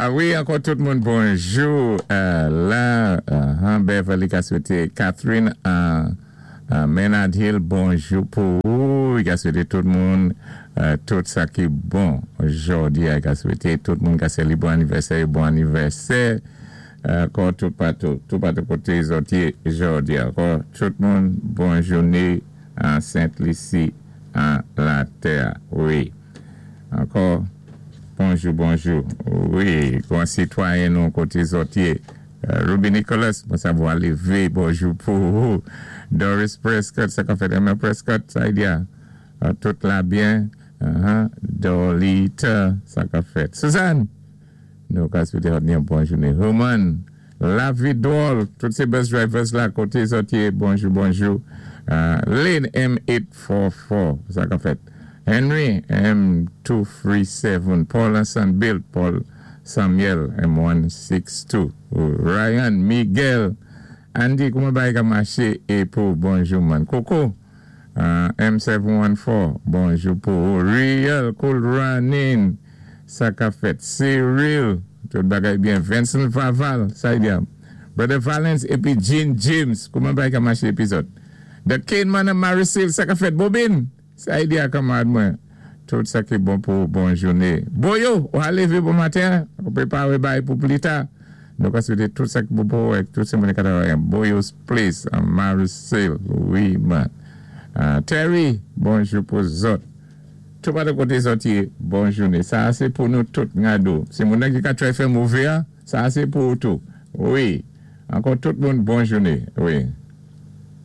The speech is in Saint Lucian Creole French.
A wi, ankò tout moun bonjou. La, Beverly ka swété Catherine Menard Hill, bonjou pou ou. I ka swété tout moun tout sa ki bon jòdi a. I ka swété tout moun ka sélibwé anivèsè yo bon anivèsè. Ankò tout patou, tout patou koté zòt yé jòdi a. Ankò tout moun bon jouné an Sent Lisi an latè a. Wi. Ankò bonjou bonjou. Wi, gran sitwayen nou koté zòt yé. Ruby Nicholas, mwen sa vwa lévé, bonjou pou ou. Doris Prescott, sa ka fèt? Emma Prescott, sa y di a? Tout la byen? Dolita, sa ka fèt? Suzanne! Nou ka swete hot yon bon jounen. Human, lavi dwòl, tout se bus drivers la kote zòt ye, bonjou bonjou. Lynn M844, sa ka fèt? Henry M237, Paul Ansan Bill, Paul Samuel M162, Ryan, Miguel, Andy kouman bagay ka maché é pou bonjou man. Koko M714, bonjou pou ou. Real Cool Running, sa ka fèt? Cyril, tout bagay byen. Vincent Vaval, sa y di a? Brother Valens épi Jean James, kouman bagay ka maché épi zòt? The Cane Man an Maricil, sa ka fèt? Bobin, sa y di a kanmarad mwen? Tout sa ki bon pou ou, bon jouné. Boyo, ou a lévé bon maten, ou préparé bagay pou pli ta. Nou ka swété tout sa ki bon pou ou ak tout se moun ki ka travay an Boyo's Place an Maricil, wi man. Terry, bonjou pou zòt. Tou patou koté zòt yé, bon jouné. Sa a sé pou nou tout, Ngado. Se moun nan ki ka try fè mové a, sa a sé pou ou tou. Wi. Ankò tout moun bon jouné. Wi.